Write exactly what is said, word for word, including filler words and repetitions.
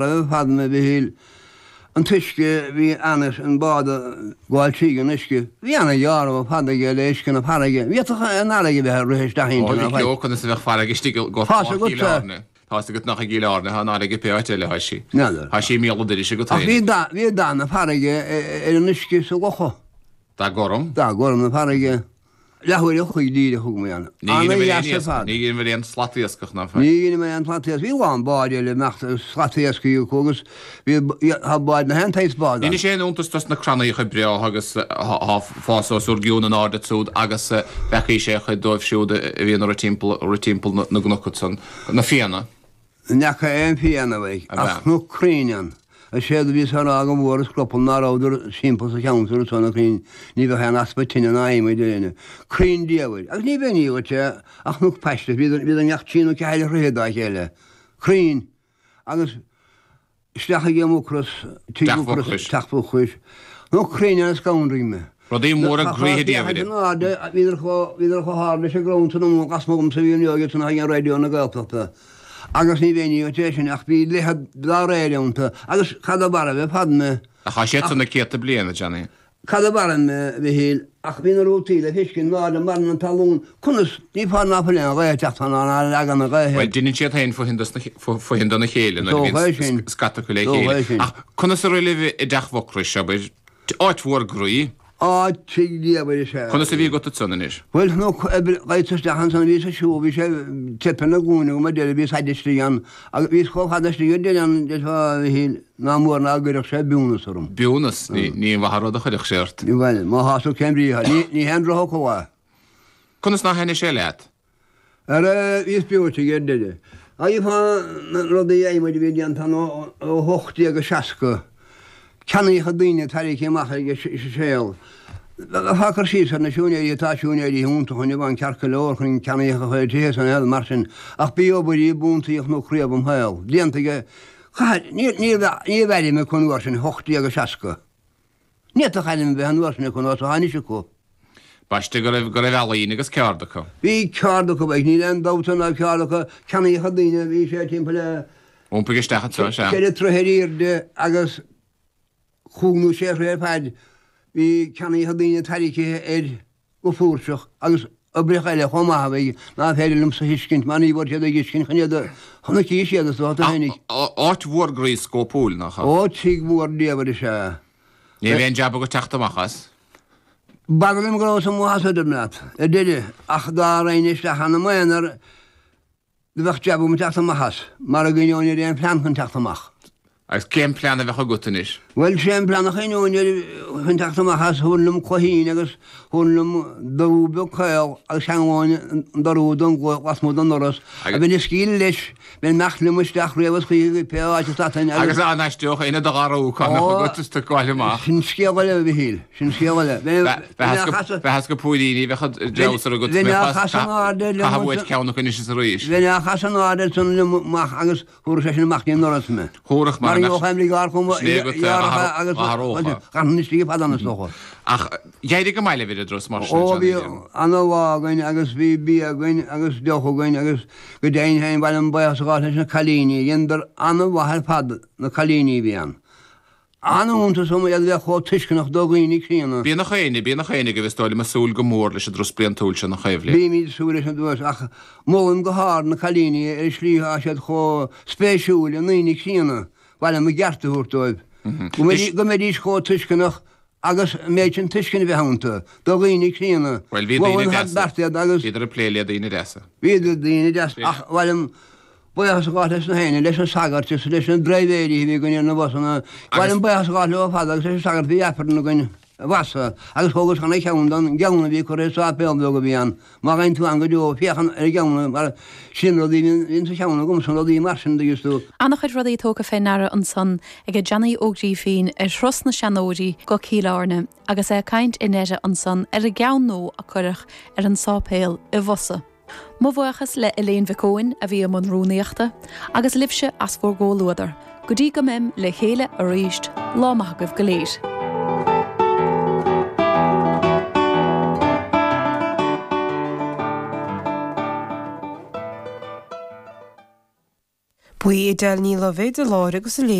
ar fad, a Mhichíl. An t-uisce, bhí ana, an bád ag gabháil tríd an uisce, bhí ana ghearradh ar fad aige le uisce na farraige. Ní fhéadfadh an fharraige bheith ag rith isteach inti ná faic. Ó, conas a bheadh farraige istigh i gCorr Chill Airne? Tá's agat nach i gCill Airne atá an fharraige pé áit eile atá sí. N'fheadar. Tá sí i mbéal an dorais agat Ach féin. bhí dath, bhí dath na farraige ar an uisce sa locha. Dath gorm? Dath gorm na farraige. Leathuair a chloig díreach thug mé ann. Ní dheineabhair aon Ana-dheas ar iasc, fad. ní dheineabhair aon slat iascach ná faic. Ní dheineamar aon slat iascaigh. Bhí a lán báid eile ag imeacht agus slat iascaigh acu agus bhí, tá báid na haon tsaghas bád ann. Ní sé aon iontas dos na crannaíocha breátha agus thá fás os bhur gcionn in airde ansiúd agus bhfeacaís é chuid dóibh siúd a bhíonn ag rith timpeall, rith timpeall na gcnoc ansan, na fianna. Ní fhaca aon fianna uaidh, Ab ea? ach cnoc crainn ann. Is éard a bhíos á rá go bhfuaras scrupall ná rabhadar timpeall sa cheantar anso na crainn, ní bheadh aon easpa tine ná adhmaid ar éinne. Crainn diabhail. Agus ní bheinn dhuit é ach cnoc paiste, bhíodar bhíodar i ngach trí nó ceathair throithe dá chéile. Crainn. Agus isteach ag Mucros, tigh Teach Mhucros, Mhucrois. Teach Mhucrois. Cnoc crainn ann a scanraigh mé. Rudaí móra Tá groíthe féachaint diabhail. in airde, bhíodar chomh bhíodar chomh hard leis an gcrann san amuigh lasmuigh dhomsa a bhí an óige san ag an Raidió na Gaeltachta. Agus ní bheinn dhuit é sin ach bhí leithead dá réir iontu agus cad ab fhearr a bheith fad mé Ach tá siad san na céadta bliain, a Johnny. Cad ab fhearr mé, a Mhichíl, ach bhí na rútaí le feiscint in airde mar an talún, conas, ní fáth ná fuil aon ghaoth ag teacht ann ná leagan na gaoithe. Bhuel, deineann siad féin fothain dos na, fothain dona chéile nuair a Dócha é bhíonn sin. scata acu le Dócha é chéile. sin. Ach conas a rith libh i dTeach Mhucrois, abair? Áit mhór groí. Áit tigh diabhail is ea Conas a é. bhí agat ansan anois? Bhuel, nó ghaibhte isteach ansan, bhíos ag siúl, bhí sé teip ar na glúine agam ar deireadh, bhíos fhad istigh ann, agus bhíos chomh fada istigh ar deireadh ann, déarfá, a Mhichíl, ná mór ná gcuirfeadh sé biúnas orm. Biúnas? Ní, ní an mhaith an rud a chuirfeadh sé ort. Bhuel, má thá tú cén brí atá, ní, ní haon drochfhocal é. Conas nár thaitnigh sé leat? Ara, bhíos breoite aige ar deireadh. Gheofá na rudaí adhmaid a bhí déanta ann ó hocht déag a seasca. Ceannaíodh daoine tarraingthe amach ag an saol. Bheifeá ag cur síos ar na siúinéirí, tá siúinéirí iontacha inniu ann ceart go leor chun ceannaíocha a chur ar tithe san eile mar sin, ach b'í obair í a b'iontaí a chonac riamh im shaol. Déanta aige, caithfidh, ní raibh airm acu an uair sin, hocht déag a seasca. Ní fhéadfadh airm a bheith an uair sin acu ná atá anois acu. Baiste go raibh, go raibh ealaín agus ceárd acu. Bhí ceárd acu, bheadh, níl aon dabht ann ná ceárd acu, ceannaíodh daoine, bhí sé timpeall le Iompaigh isteach anseo, sea. ceithre troithe ar airde agus chúig nó sé throithe ar faid, bhí ceannaíodh daoine tarraicthe air go flúirseach agus oibreacha eile chomh maith a bhí ná féidir liomsa a thuiscint mar ní bhfuair siad a dtuiscint chun iad a chonaic siad is dócha tú fhéinig. Áit mhór groí scópúil, nach ea? Ó, tigh mhór diabhail is ea. Ní raibh aon jab agat teacht amach as. B'fhada liom go rabhas amuigh as a deirim leat, ar deireadh, ach dá raghainn isteach ann i m'aonar, Do bheadh jab agam teacht amach as, mara gcuimhneoinn ar aon phlean chun teacht amach. Agus cén plean a bheadh agat anois? Bhuel, sé an plean a chuimhneoinn air chun teacht amach as, thabharfainn liom cloichín agus thabharfainn liom dorú beag caol agus cheanglóinn an dorú don gcloich lasmuigh den ndoras, a bheinn ag scaoileadh leis, bheinn ag imeacht liom isteach riamh is choíche go pé áit a stadfainn agus. Agus dá n-aisteodh éinne do dharú cá mbeadh agat is tú ag gabháil amach? Sin scéal eile, a Mhichíl, sin scéal eile. Bheith as go póilíní, bheadh an dreabhsar agat, Bheinn á chasadh in airde liom Caithfidh uait ceann acu anois is arís. Bheinn á chasadh in airde ansan liom amach agus thabharfadh sé sin amach dtí an ndoras mé. Thabharfadh mar Mar gheobhadh aon bhligeaird chomh Sin é agat gearrtha agus a ghann istigh fad ann is dócha. Ach d'éirigh go maith libh ar an dturas mar sin, Ó bhí Johnny. ana-lá againn agus bhí bia againn agus deoch againn agus go deimhin féin ba mhaith liom buíochas a ghabháil leis na cailíní. Dheineadar ana-mhaith ar fad na cailíní a bhí ann. An-iontas orm iad a bheith chomh tuisceanach do dhaoine críonna. Bíonn gach éinne, bíonn gach éinne go bhfios dó liom ag súil go mór leis an dturas bliantúil seo nach ea a Bhliain. Bímid ag súil leis an dturas ach molaim go hard na cailíní ar an slí atá siad chomh spéisiúil i ndaoine críonna. Ba mhaith liom a gceart a thabhairt dóibh. Go go mbeidís chomh tuisceanach agus an méid sin tuisceana a bheith iontu do dhaoine críonna. Bhuel, bhí daoine Mholfainn thar deasa. beart iad agus. Bhíodar ag plé le daoine deasa. Bhíodar daoine deasa ach ba mhaith liom Buíochas a ghabháil leis na héinne, leis na sagairt is leis na dribhéirí a bhí againn ar na busanna. Ba mhaith liom buíochas a ghabháil leo ar fad agus leis an sagart a bhí Aifreann againn i bhFassa agus thógas ana cheann don gceann a bhí curtha i sáipéal beag a bhí ann. Má gheibheann tú ann go deo, féach ar an gceann mar sin rudaí a bhíonn sa cheann agamsa, rudaí mar sin, dtuigeann tú. An-chuid rudaí tógtha fé ndeara ansan ag Johnny Ó Grífín ar thuras na seanóirí go Cill Airne agus é ag caint i ndeireadh ansan ar an gceann nua a cuireadh ar an sáipéal i bhFosadh. Mo bhuíochas le Elaine Mhic Eoin a bhí i mbun rúnaíochta, agus libhse as bhur gcomhluadar. Go dtí go mbeim le chéile arís, lá maith agaibh go léir. Ba í Edel Ní Loibhéad a labhair agus a léigh.